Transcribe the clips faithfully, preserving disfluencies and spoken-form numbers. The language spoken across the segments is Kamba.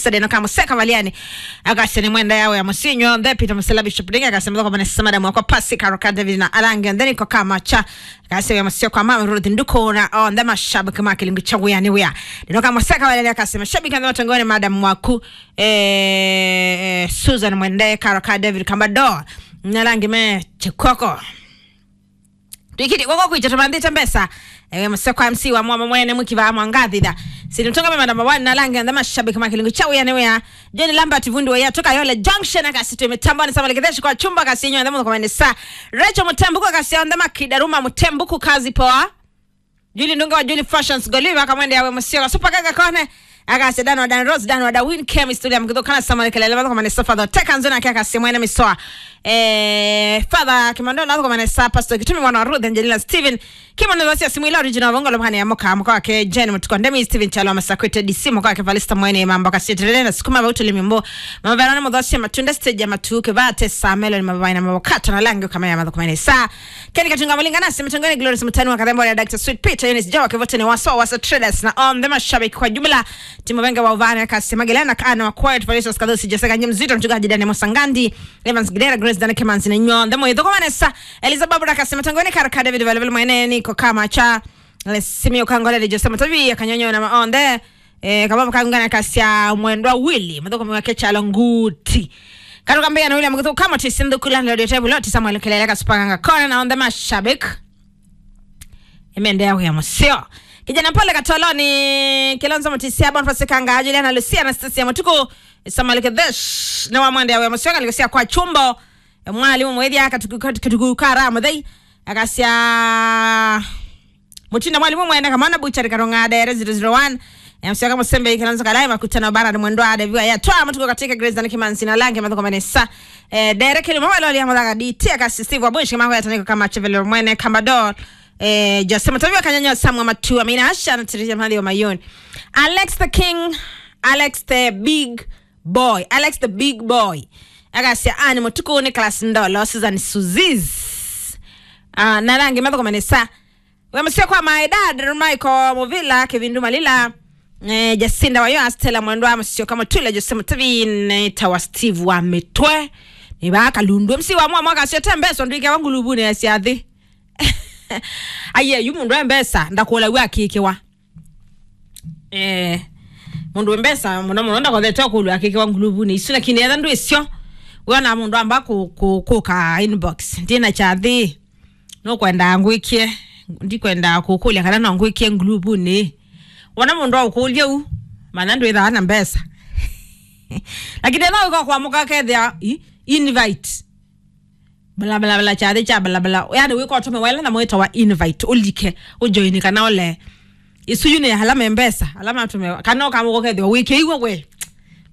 Saturday no kamũseka valiani. Akasya nĩ mwenda yawe ya mũsinyo. Nthe Peter Musela Bishop Dinga akasya mthoko manesa madam wakwa Pasi Karoka David na Alange. Nthe niko kama cha. Akasya ya mũsio kwa mama Ruth Nduko na onthe mashabiki ma kĩlungu cha wĩa nĩ wĩa. Ndino kamũseka valiani akasya mashabiki nthe matongoni madam waku. Eh, eh, Susan Mwende, Karoka David Kambado. Na Alange me chikoko. Twikiti kwako kwitũ tũmanthĩte mbesa. Ewe mũseo kwa M C wa mwama mwene mũkiva mwangathitha. Sini mtonga mema namba one na Alange nthe mashabiki ma kĩlungu cha wĩa nĩ wĩa. John Lambert Vundi wa Yatoka Yole Junction akasitwe mitamboni sama leketheshi kwa chumba kasinyo nthe mũthoko manesa. Rachel Mutembuku akasya nthe makida ruma Mutembuku kazi poa. Julie Ndunge wa Julie Fashions Goliva akamwende yawe mũsio super kaka kone. Akasya Dan wa Dan Rose, Dan wa Darwin, Kemi Stulia Mkitho kana Samuel Kelele mathoko manesa father. Teka nzona kia akasya mwene misoa. Eh, Father Kimando na thoko manesa Pastor Kitumi mwana wa Ruth Angelina Steven. Kimando thasi ya simu ila original bongo lo mhani ya moka mkoa wake Jane Mutuko Ndemi Steven Chalo Masakwete D C mkoa wake Valista mwene mambo akasya terere na sukuma vautu limimbo. Mama Verona mudhosi ya matunda stage ya matuke vate sa melon mabaina mabokata na langi kama ya mathoko manesa. Ken Katunga Malinga nasi mtongoni Glorious Mutani wa Kathembo ya Doctor Sweet Peter Eunice Jawa Kevote ni waso wasa traders na on the mashabiki kwa jumla. Timu Benga wa Uvane kasi Magilena kana wa Quiet Felicius Kadhusi Jessica Nyamzito mchungaji Daniel Musangandi Evans Gidera Grace Dana Kemanzi na nyo the mwitho kwa Vanessa Elizabeth Barbara kasi mtongoni Karaka David Valevel mwene niko kama cha Simio Kangole Joseph Matavi ya Kanyonyo na Maonde. Eh, kababa kangana kasya mwendwa Willy muthuko mwake chalo nguti. Karuka mbeya na William kuthuka kama tisi ndukula ndio tebu loti Samuel Kelele kasupanga kona na on the mashabik. Imeendelea huya musio. Kijana pole katoloni Kilonzo Mutisia Boniface Kanga Juliana Lucia Anastasia Mutuku Samuel Kedesh na wa mwende ya musio kalikosia kwa chumbo. Mwalimu mwethia katuku katuku kara muthei akasya Mutinda mwalimu mwene kamana buchari karong'ada ere zero zero one. Msyoka musembe ikilanzo kalai makutano bara ni mwendo ade viwa ya toa matuko katika Grace na Kimanzi na Lange mathoko manesa. Eh, dere kili mwa loli ya muthaga D T akasi Steve Abushi mako ya taniko kama chevelo mwene kama dol. Eh, Jose Mutavio kanyanya Samuel Matua mina asha na tirija mali wa mayoni. Alex the King, Alex the Big Boy, Alex the Big Boy. Akasya ani mutuku ni class ndolo Susan Suziz. Ah, na Lange mathoko manesa. We musio kwa my dad Michael Muvila Kivindu Malila. Eh, Jacinda wayo Astela mwendo wa musio kama tule Jose Mutavine tawa Steve wa mitwe. Ni ba kalundu M C wa mwa mwaka sio tembeso ndike wa ngulubune ya siathi. Aye yu mundu embesa ndakula wa kikiwa. Eh, mundu embesa muno muno ndakothete kulwa kikiwa ngulubune isu lakini etha ndwisio. Wona mundu amba ku ku kuka inbox ndina chathi. Nũkwenda ngwĩkĩe, ndikwenda kũkũlya kana no ngwĩkĩe nguluvunĩ. Wona mũndũ aũkũlya u, manya ndwĩthaa na mbesa. Lakini ethĩwa wĩka kwamũka kethĩa i- invite. Bla, bla, bla, kyathĩ kya bla, bla. Yani wĩka ũtũme wela na mwĩtawa invite, ũlike, ũjoini kana ũle. Isu yu nĩ ala me mbesa, ala matũme, kana ũkamũka ũkethĩwa wĩkĩiwe we.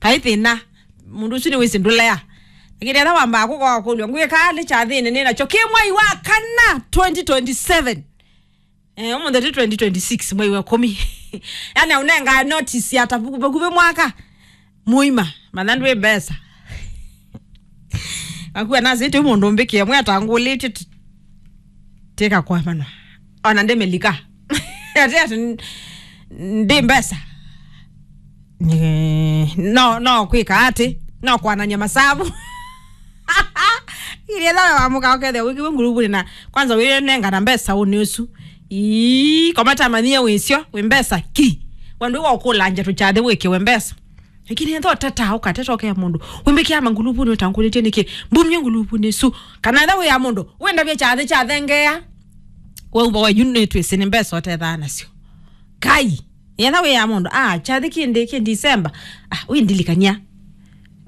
Kaĩ thĩna. Mũndũ ũsu nĩwĩsĩ ndũlea. Lakini ethĩwa wambaa kũkoa kũlw'a, ngwĩka nĩ kyathĩnĩ nĩ nakyo kĩ mwai wa kana twenty twenty-seven. Eh, ũmũnthĩ tĩ twenty twenty-six, mwai wa kũmi. Yani aũnengaa notice ya ta vakuvĩ mwaka mũima, manya ndwĩ mbesa. Akua nasĩtĩ mũndũ mbĩkĩe mwe atangũlĩtye tĩka kwamanwa. Ona ndĩmĩlika. Ati ati ndi mbesa. Ni- no no kwika ati no kwananya masavu. Iria thawe wamuka ukethia wikiwe nguluvuni na kwanza winengana mbesa uni usu. Ii komata manyie wisio wi mbesa ki. Wandu wa ukulanja tuchathe wikiwe mbesa. Lakini ethwa ũteta ũkateta ũkea mũndũ wĩmbĩkĩa manguluvunĩ ũtangũlĩtye nĩkĩ mbumye nguluvunĩ isu kana ethwa wĩ ya mũndũ wĩndavya kyathĩ kyathengea. Wauva wa yu nĩtwĩsĩ nĩ mbesa ũtethaa nasyo. Kai ethwa wĩ ya mũndũ ah kyathĩ kĩndĩ kĩ December ah wĩndilikany'a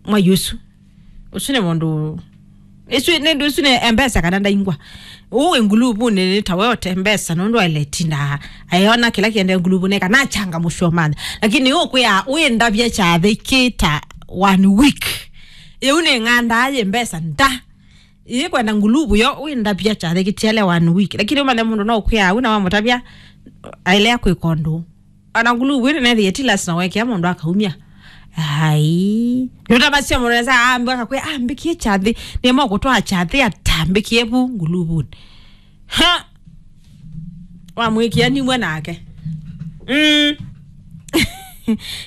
mwai ũsu. Ũsu nĩ mũndũ Isu nĩ ndũ isu nĩ mbesa kana ndaingwa. Ũũ wĩ nguluvunĩ nĩ ta we ote mbesa nũndũ aile tinda ayona kĩla kĩende nguluvunĩ kana achanga mũsyo manya. Lakini ũkwĩa wĩndavya kyathĩ kĩ ta one week. Ĩu nĩ ng'andaa yĩ mbesa nda. Ĩĩ kwenda nguluvu yo wĩndavya kyathĩ kĩtiele one week. Lakini ũmanye mũndũ no ũkwĩa au na wamũtavya ailea kwĩka ũndũ. Ona nguluvu ĩno nethĩe ti lazima wekea mũndũ akaumya. Ai. Nũtavasya mũndũ nesa ambe akakwĩa ambĩkie kyathĩ. Nĩma ũkũtwaa kyathĩ atambĩkie vu nguluvunĩ. Ha. Wamwĩkĩa nimwe nake. Mm.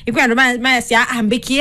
Ikwĩ andũ ma- mayasya ambĩkie